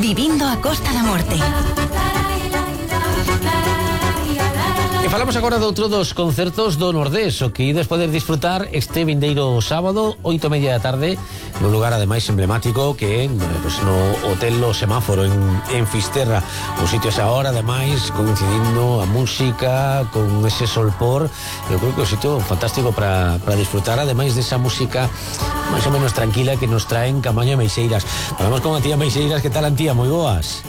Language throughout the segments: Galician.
Vivindo a Costa da Morte. E falamos agora de outro dos concertos do Nordés, o que ides poder disfrutar este vindeiro sábado, 8:30 da tarde, no lugar ademais emblemático que é pues, no Hotel Lo Semáforo en Fisterra. Un sitio esa hora, ademais, coincidindo a música con ese solpor. Eu creo que é un sitio fantástico para disfrutar, ademais desa música máis ou menos tranquila que nos traen Camaño e Meixeiras. Falamos con a tía Meixeiras. Que tal, Antía? Moi boas.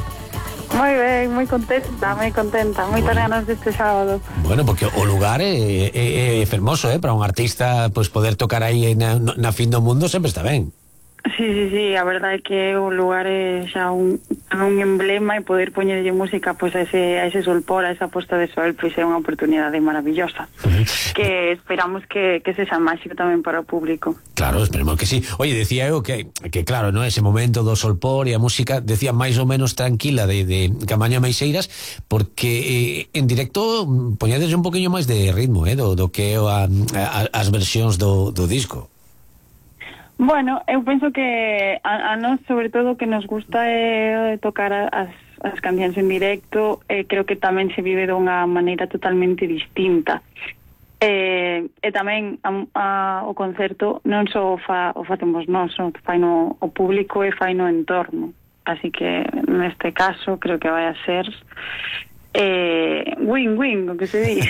Moi ben, moi contenta, moitas ganas deste sábado. Bueno, porque o lugar é fermoso, para un artista pois poder tocar aí na fin do mundo sempre está ben. Sí, a verdade é que o lugar é xa un emblema e poder poñerlle música pois a ese solpor, a esa posta de sol, pois é unha oportunidade maravillosa. Que esperamos que sexa máxico tamén para o público. Claro, esperemos que sí. Oye, decía eu que claro, no, ese momento do solpor e a música, decía máis ou menos tranquila de Camaño e Meixeiras, porque en directo poñedes un poquinho máis de ritmo, do que as versións do disco. Bueno, eu penso que a nós, sobre todo, que nos gusta tocar as cancións en directo, creo que tamén se vive dunha maneira totalmente distinta. E tamén o concerto non só o facemos nós, o faino o público e faino o entorno. Así que, neste caso, creo que vai a ser win-win, o que se di.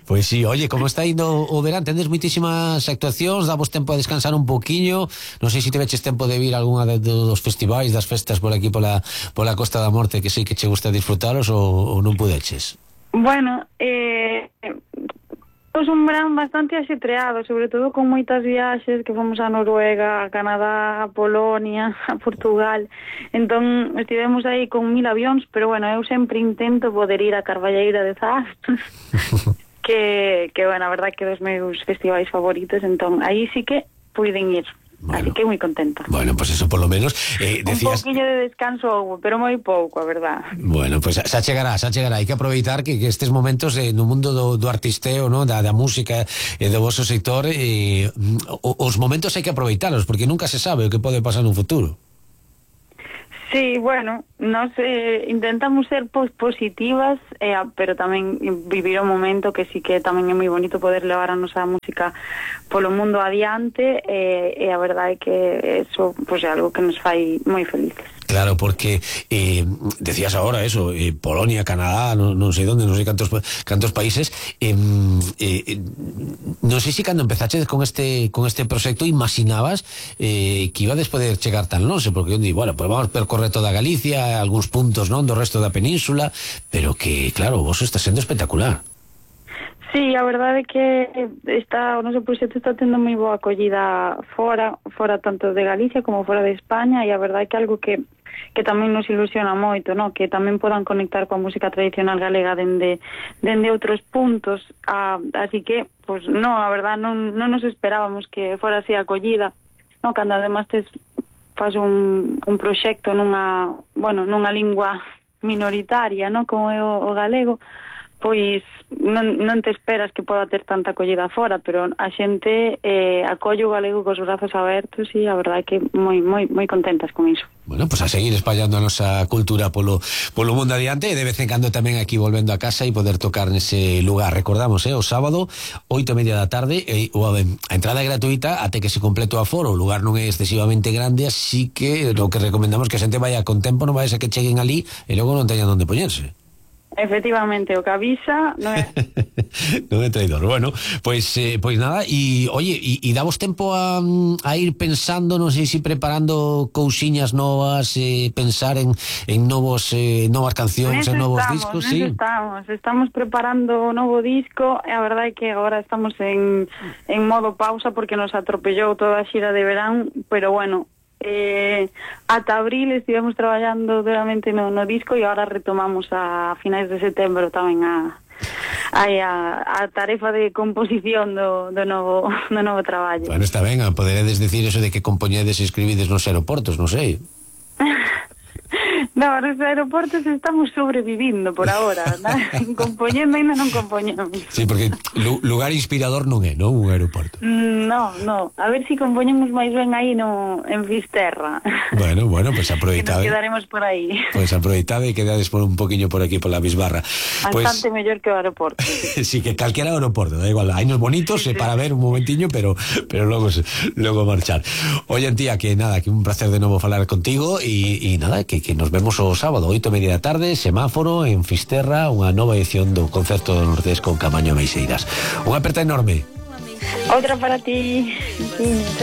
Pois sí, oye, como está indo o verán? Tendes moitísimas actuacións, davos tempo a descansar un poquiño. Non sei se te veches tempo de vir a algunha dos festivais, das festas por aquí pola Costa da Morte, que sei que che gusta disfrutaros, ou non pudeches? Bueno, un verán bastante axetreado, sobre todo con moitas viaxes, que fomos a Noruega, a Canadá, a Polonia, a Portugal. Entón estivemos aí con 1000 avións, pero bueno, eu sempre intento poder ir a Carballeira de Zas, que bueno, a verdade que dos meus festivais favoritos, entón aí sí que puiden ir. Bueno, así que moi contenta. Bueno, pues eso por lo menos decías... Un pouquinho de descanso, pero moi pouco, a verdad. Bueno, pues xa chegará. Hai que aproveitar que estes momentos no mundo do artisteo, ¿no? da música e do vosso sector, os momentos hai que aproveitalos, porque nunca se sabe o que pode pasar no futuro. Sí, bueno, nos intentamos ser positivas, pero tamén vivir o momento, que sí que tamén é moi bonito poder levar a nosa música polo mundo adiante, e a verdade é que eso pois, é algo que nos fai moi felices. Claro, porque decías ahora eso, Polonia, Canadá, non sei onde, non sei cantos países, non sei se cando empezaches con este proxecto imaginabas que ibades poder chegar tan longe, porque eu digo, bueno, pues vamos percorrer toda Galicia, algúns puntos, non, do resto da península, pero que, claro, vos está sendo espectacular. Sí, a verdade é que o noso proxecto está tendo moi boa acollida fora tanto de Galicia como fora de España, e a verdade é que algo que tamén nos ilusiona moito, no? Que tamén podan conectar coa música tradicional galega dende outros puntos, así que, pues no, a verdade non nos esperábamos que fora así acollida, no? Cando además faz un proxecto nunha lingua minoritaria, no? Como é o galego, pois non te esperas que poda ter tanta acollida fora, pero a xente acolle o galego cos brazos abertos, e a verdade é que moi contentas con iso. Bueno, pues a seguir espallando a nosa cultura polo mundo adiante, e de vez en cando tamén aquí volvendo a casa e poder tocar nese lugar. Recordamos, o sábado 8:30 da tarde, a entrada é gratuita até que se complete o aforo. O lugar non é excesivamente grande, así que o que recomendamos que a xente vaya con tempo, non vai a ser que cheguen ali e logo non teñan onde poñerse. Efectivamente, o que avisa non é non é traidor. Bueno, pois nada, e oye, e damos tempo a ir pensando, non sei se preparando cousiñas novas, pensar en novas cancións, en novos discos, sí. Estamos preparando o novo disco, e a verdade é que agora estamos en modo pausa porque nos atropellou toda a xira de verán, pero bueno, ata abril estivemos traballando duramente no disco, e agora retomamos a finais de setembro tamén a tarefa de composición do novo traballo. Bueno, está ben, poderedes decir eso de que compoñedes e escribides nos aeroportos, non sei. No, nos aeroportos estamos sobrevivindo por ahora, compoñendo ainda non compoñemos. Sí, porque lugar inspirador non é, non? Un aeroporto. No, a ver se compoñemos máis ben aí en Fisterra. Bueno, pues aproveitade. Que nos quedaremos por aí. Pues aproveitade e quedades por un poquinlo por aquí, por la Bisbarra. Bastante mellor que o aeroporto. Sí, que calquera aeroporto, da igual, hai nos bonitos para ver un momentiño, pero logo marchar. Oye, tía, que nada, que un placer de novo falar contigo e nada, que nos vemos o sábado, 8:30 da tarde, semáforo en Fisterra, unha nova edición do Concerto do Nordés con Caamaño Ameixeiras. Unha aperta enorme. Outra para ti.